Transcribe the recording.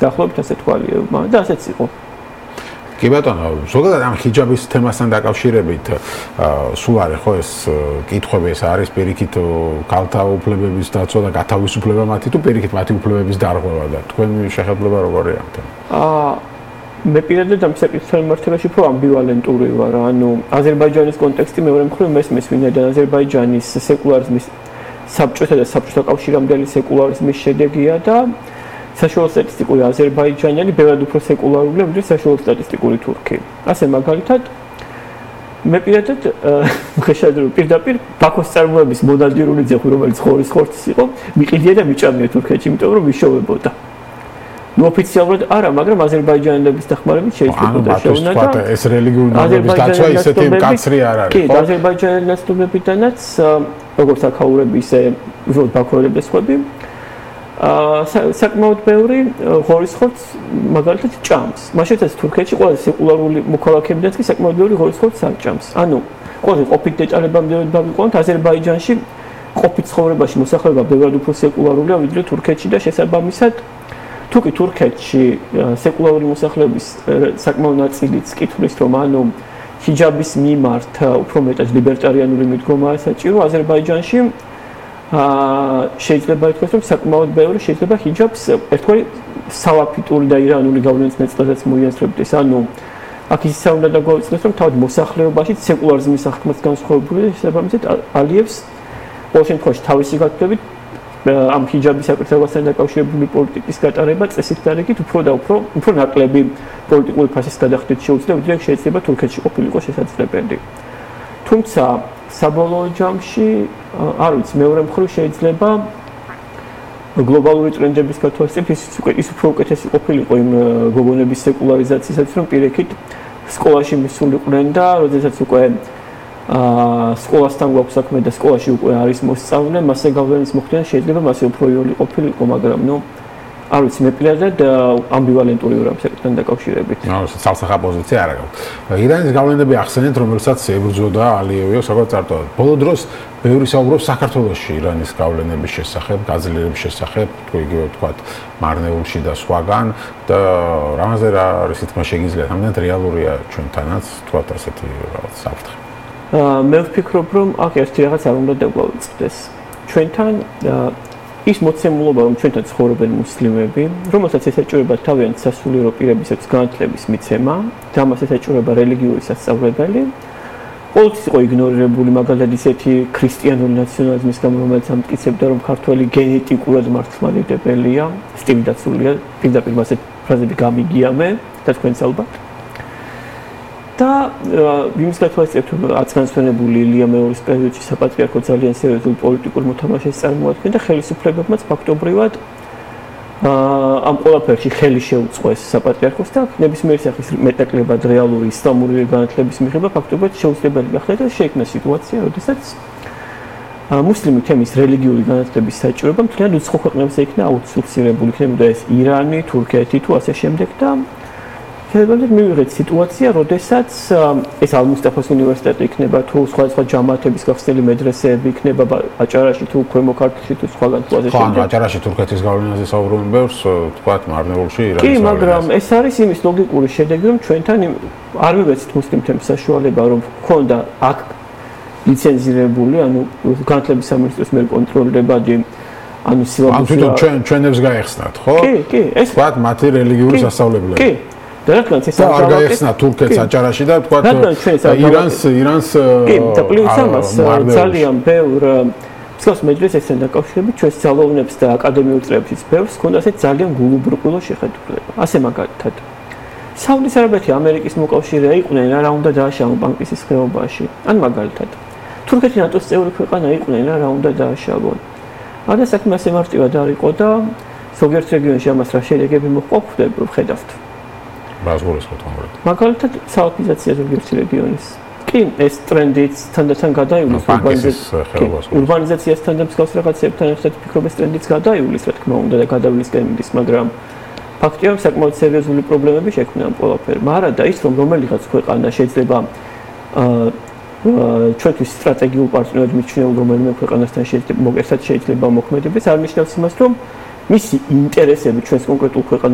დაახლოებით ასე თვალიებმა და ასეც იყო. კი ბატონო, ზოგადად ამ ჰიჯაბის თემასთან დაკავშირებით სულ არის ხო ეს კითხვები ეს არის პირიქით ქალთა უფლებების დაცვა და გათავისუფლება მათი თუ პირიქით მათი უფლებების დარღვევა და თქვენი შეხედულება როგორია ამ თემაზე? მე პირადად ამ საკითხთან მიმართებაში უფრო ამბივალენტური ვარ, ანუ აზერბაიჯანის კონტექსტი მეორე მხრივ მესმის ვინაიდან აზერბაიჯანის სეკულარიზმის საბჭოთა და საბჭოთა კავშირამდელი სეკულარიზმის შედეგია და საშუალო სტატისტიკური აზერბაიჯანელი ბევრად უფრო სეკულარულია, ვიდრე საშუალო სტატისტიკური თურქი. ასე მაგალითად მე პირადად მიხეშადრო პირდაპირ ბაქოს წარმოების მონადირული ძეხვი, რომელიც ხორის ხორცის იყო, მიყიდია და მიჭამია თურქეთში, იმიტომ რომ ვიშოვებოდა. ოფიციალურად არა, მაგრამ აზერბაიჯანელების დახმარებით შეიძლება დაშოვნა და ეს რელიგიური ნორმების დაცვა ისეთი მკაცრი არ არის, ხო? კი, აზერბაიჯანელი ნაცნობებიდანაც როგორც აქაურები, ისე უბრალოდ ბაქოელები და სხვები საკმაოდ ბევრი ღორისხორცს მაგალითად ჭამს. მაშინაც თურქეთში ყველაზე სეკულარული მოქალაქეებიდან კი საკმაოდ ბევრი ღორისხორცს არ ჭამს. ანუ ყოველ ყოფით დეტალებამდე დავიყვანოთ, აზერბაიჯანში ყოფით ცხოვრებაში მოსახლეობა ბევრად უფრო სეკულარულია ვიდრე თურქეთში და შესაბამისად თუ კი თურქეთში სეკულარული მოსახლეობის საკმაოდ ნაწილიც კითხვის რომ ანუ ჰიჯაბის მიმართ უფრო მეტად ლიბერტარიანული მიდგომაა საჭირო, აზერბაიჯანში შეიძლება ითქვას რომ საკმაოდ ბევრი შეიძლება ჰიჯაბს ერთგვარი სალაფიტური და ირანული გავლენის მეწყვილებაც მოიაზრებდეს. ანუ აქ ისე უნდა დაგვაუწყდეს რომ თავად მოსახლეობაში სეკულარიზმის აღქმაც განსხვავებული და შესაბამისად ალიევს ყოველ შემთხვევაში თავისი გათვლებით ამ ჰიჯაბის საკითხებასთან დაკავშირებული პოლიტიკის გატარება წესით დარიგით უფრო და უფრო ნაკლები პოლიტიკური ფასის გადახდით შეუძლია, ვიდრე შეიძლება თურქეთში ყოფილიყო შესაძლებელი. თუმცა საბოლოო ჯამში არ ვიცი, მეორე მხრივ შეიძლება გლობალური ტრენდების გათვალისწინებით ის უფრო უკეთესი ყოფილიყო იმ გოგონების სეკულარიზაციისათვის, რომ პირიქით სკოლაში მისულიყვნენ და როდესაც უკვე სკოლასთან გვაქვს საქმე და სკოლაში უკვე არის მოსწავლე, მასზე გავლენის მოხდენა შეიძლება მასე უფრო იოლი ყოფილიყო, მაგრამ არ ვიცი, მე პირადად ამბივალენტური ვარ ამ საკითხთან დაკავშირებით. სალსახა პოზიცია არ აქვს. ირანის გავლენები ახსენეთ, რომელსაც ებრძოდა ალიევი საკუთარ წარწერად. ბოლო დროს ბევრი საუბრობს საქართველოში ირანის გავლენების შესახებ, გაძლიერების შესახებ, იგივე ვთქვათ, მარნეულში და სხვაგან და რამაზე რა არის თქმა შეგიძლიათ, ამდენად რეალურია ჩვენთანაც, ვთქვათ ასეთი რაღაც საფრთხე. მე ვფიქრობ, რომ აქ ერთი რაღაც არ უნდა დაგვაუწყდეს. ჩვენთან ის მოცემულობა, რომ ჩვენთან ცხოვრობენ მუსლიმები, რომელსაც ესაჭიროება თავიანთ სასულიერო პირებისათვის განათლების მიცემა, და ამას ესაჭიროება რელიგიური სასწავლებელი, ყოველთვის იყო იგნორირებული, მაგალითად ისეთი ქრისტიანული ნაციონალიზმის გამო, რომელიც ამტკიცებდა, რომ ქართველი გენეტიკურად მართლმადიდებელია, სტილდაცულია, პირდაპირ მასე ფრაზები გამიგია მე და თქვენც ალბათ. და იმის გათვალისწინებით, რომ აცგანსვენებული ილია მეორის პერიოდში საპატრიარქო ძალიან სერიოზულ პოლიტიკურ მოთამაშეს წარმოადგენდა, ხელისუფლებებმაც ფაქტობრივად ამ ყველაფერში ხელი შეუწყოს საპატრიარქოს და ნებისმიერი სახის მეტაკლებად რეალური ისლამური განათლების მიღება ფაქტობრივად შეუძლებელი გახდა და შეიქმნა სიტუაცია, როდესაც მუსლიმი თემის რელიგიური განათლების საჭიროება მთლიანად უცხო ქვეყნებზე იქნა აუთსორსირებული, იქნებოდა ეს ირანი, თურქეთი თუ ასე შემდეგ და შეიძლება მივიღეთ სიტუაცია, როდესაც ეს ალ-მუსტაფას უნივერსიტეტი იქნება თუ სხვა ჯამათების გახსნილი მედრესეები იქნება აჭარაში თუ ქვემო ქართლში თუ სხვაგან თუ ასე შემდეგ. ხო, აჭარაში თურქეთის გავლენაზე საუბრობენ ბევრს, თქვათ, მარნეულში ირანის. კი, მაგრამ ეს არის იმის ლოგიკური შედეგი, რომ ჩვენთან არ მივეცით მუსლიმ თემის საშუალება, რომ გქონდა აქ ლიცენზირებული, ანუ განათლების სამინისტროს მიერ კონტროლირებადი ანუ სილაბუსი. ანუ ჩვენებს გაეხსნათ, ხო? კი, ეს თქვათ, მათი რელიგიური სასწავლებლები. კი. და რადგანაც ეს არ გაეხსნა თურქეთს აჭარაში და თქვათ ირანს კი და პლუს ამას ძალიან ბევრ მსგავს მედრესესთან დაკავშირებით ჩვენს ძალოვნებს და აკადემიურ წრეებშიც ბევრს ჰქონდა ასეთ ძალიან გულუბრყვილო შეხედულება. ასე მაგალითად საუდის არაბეთი ამერიკის მოკავშირეა იყვნენ, რა უნდა დააშავონ ბანკის ხეობაში. ან მაგალითად თურქეთი ნატოს წევრი ქვეყანა იყვნენ, რა უნდა დააშავონ. არა საქმე ასე მარტივად არ იყო და ზოგიერთ რეგიონში ამას რა შედეგები მოჰყვა, ხედავთ. ბაზგურის ხოთმობრად. მაგალითად, სალაფიზაცია ზოგიერთ რეგიონის. კი, ეს ტრენდიც თანდათან გადაივლის ურბანიზაციასთან და მსგავს რაღაცებთან ერთად ფიქრობ ეს ტრენდიც გადაივლის, რა თქმა უნდა და გადავლის ტრენდის, მაგრამ ფაქტია, რომ საკმაოდ სერიოზული პრობლემები შექმნა ამ ყველაფერმა. არა და ის, რომ რომელიღაც ქვეყანა შეიძლება ჩვენთვის სტრატეგიულ პარტნიორად მიჩნეულ რომელიმე ქვეყანასთან შეიძლება მოხმედების, არ ნიშნავს იმას, რომ მისი ინტერესები ჩვენს კონკრეტულ ქვეყანას